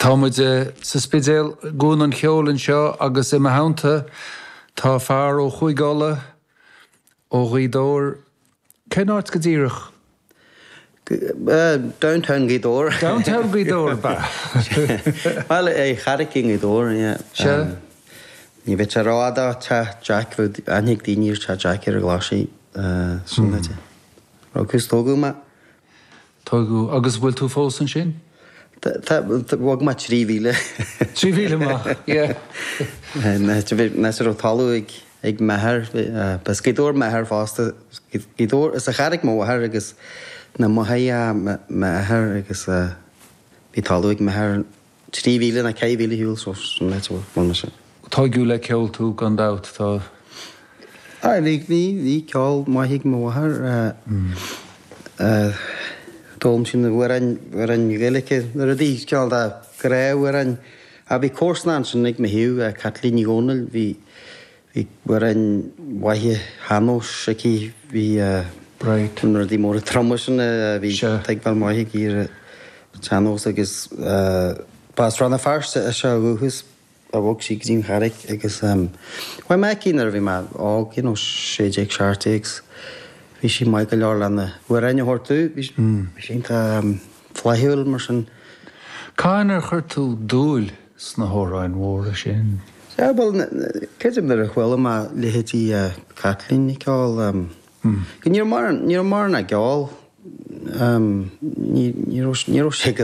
Tá muid sa Spidéal, i gCuan an Cheoil anseo agus i mo theannta tá fear ó Chúige Uladh, ó Ghaoth Dobhair. Cén áit go díreach? Downtown Gaoth Dobhair. Downtown Gaoth Dobhair, ab ea? Bhuel, an Charraic i nGaoth Dobhair, yeah. Sea. Ní bheadh sé rófhada ó Teach Jack, bheadh aithne ag daoine ar Teach Jack ar an Ghlaisigh, sin duit. Rugadh 's tógadh mé. Tógadh, agus bhfuil tú fós ansin? Tá, bhog mé 3,000. 3,000 amach, yeah. An áit a raibh talamh ag ag m'athair, b'as Gaoth Dobhair m'athair fosta, Gaoth Dobhair, as an Charraic mo mháthair agus na Mothaigh m'athair agus bhí talamh ag m'athair 3,000 nó 4,000 ar shiúl so sin an áit a bhfuil mise. Tógadh le ceol tú gan dabht, tá. Aye, bhí, bhí, bhí ceol maith ag mo mháthair. D'fhoghlaim sí na hamhráin, amhráin Ghaeilge, na rudaí, cineál de gnáthamhráin. Ach bhí comharsana ansin ag mo thaobh, Caitlín Ní Dhomhnaill, bhí, bhí amhráin mhaithe shean-nóis aici, bhí Right. na rudaí móra troma sin, bhí Sea. tuigbheáil maith aici ar an tsean-nós agus ba as Rann na Feirste ise ó dhúchas. a bhog sí go dtí an Charraic agus chuaigh mé aici nuair a bhí mé óg, you know, 16, 17 's bhí sí maith go leor le na hamhráin a thabhairt domh, bhí sí iontach flaithiúil mar sin. Cathain ar chuir tú dúil sna hamhráin mhóra sin? Sea, bhuel, creidim nuair a chuala mé leithéidí Caitlín ag ceol, go ní raibh mórán, ní raibh mórán á gceol, ní raibh, ní raibh sé go.